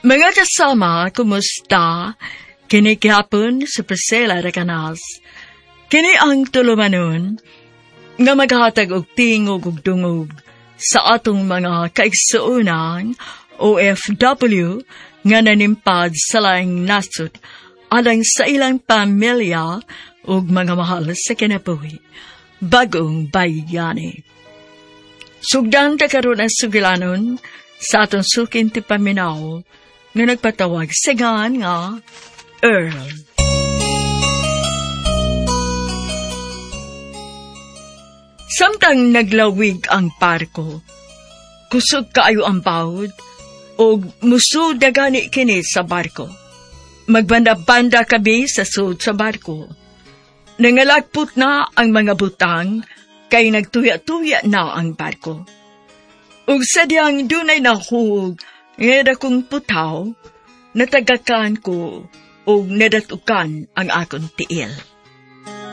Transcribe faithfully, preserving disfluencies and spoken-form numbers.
Mga kasama, kumusta? Kini gihapon sa Priscilla Recanas. Kini ang tulumanon nga maghatag og tingog ug dungog sa atong mga kaigsuonan O F W nga nanimpad sa laing nasod alang sa ilang pamilya ug mga mahal sa kinabuhi. Bagong bayani. Sugdan ta karon ang sugilanon sa atong suking tipaminaw nga nagpatawag sa ngalan nga Earl. Samtang naglawig ang barko, kusog kaayo ang bawod ug musud na gani kini sa barko. Magbanda-banda kami sa sud sa barko. Nangalagpot na ang mga butang kay nagtuya-tuya na ang barko. Ug sadyang dunay nahug nga dakong putaw, natagakan ko ug nadatukan ang akong tiil.